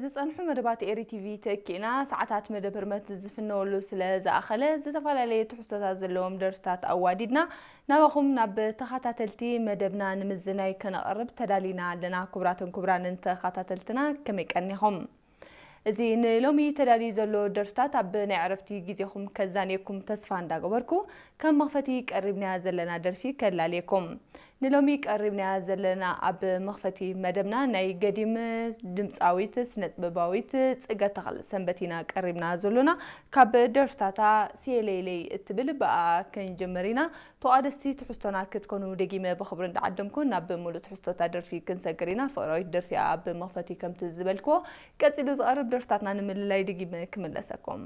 ዝጸንሑ መደባት ኤሪ ቲቪ ተኪእና ሰዓታት መደብ ህርመት ዝፍነወሉ ስለ ዝኣኸለ፣ ዝተፈላለየ ትሕዝቶታት ዘለዎም ደርፍታት ኣዋዲድና ናባኹም ናብ ተኸታተልቲ መደብና ንምዝናይ ከነቐርብ ተዳሊና ኣለና። ክቡራትን ክቡራንን ተኸታተልትና፣ ከመይ ቀኒኹም? እዚ ንሎሚ ተዳልዩ ዘሎ ደርፍታት ኣብ ናይ ዕረፍቲ ግዜኹም ከዛንየኩም ተስፋ እንዳገበርኩ፣ ከም መኽፈቲ ቀሪብናያ ዘለና ደርፊ ከላልየኩም። ንሎሚ ቀሪብናያ ዘለና ኣብ መኽፈቲ መደብና ናይ ገዲም ድምጻዊት ስነጥበባዊት ጽገ ተኽለ ሰንበት ኢና ቀሪብና ዘሎና። ካብ ደርፍታታ ሴሌሌይ እትብል ብኣ ክንጅምር ኢና። ተቋደስቲ ትሕዝቶና ክትኮኑ ደጊመ ብኽብሪ እንዳዓደምኩ ናብ ሙሉእ ትሕዝቶታ ደርፊ ክንሰግር ኢና። ፍቕራዊት ደርፊ ኣብ መኽፈቲ ከምቲ ዝበልክዎ ቀጺሉ ዝቐርብ ደርፍታትና ንምልላይ ደጊመ ክምለሰኩም።